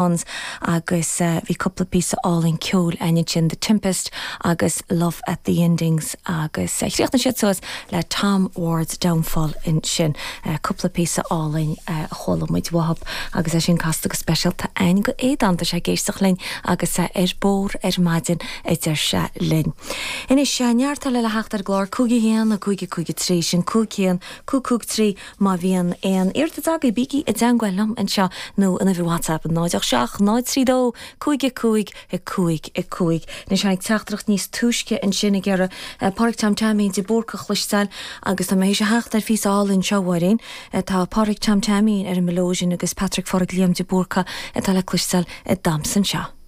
Swans agus bhí cúpla píosa álainn ceoil againn ansin, The Tempest agus Love at the Endings agus chríochnaigh siad suas le Tom Ward's Downfall ansin. Cúpla píosa álainn a chuala muid uathub agus é sin casta go speisialta againn go Aodán, tá sé ag éisteacht linn agus é ar bóthar ar maidin a deir sé linn. Anois, neart eile le theacht ar an gclár, 5 1 5 5 3, sin 5 1 5 5 3 Má bhíonn aon iarratas agaibh, bígí i dteangmháil liom anseo nó an uimhir WhatsApp 0 8 7 0 3 2 5 5 5 5. Anois tháinig teachtaireacht níos túisce ansin ag iarraidh Pádraig Tom Teaimín de Búrca a chloisteáil agus tá mé théis a theacht ar phíosa álainn anseo, a Mháirín. Tá Pádraig Tom Teaimín ar an mileoidean agus Patrick Phádraig Liam de Búrca atá le cloisteáil ag damhsa anseo.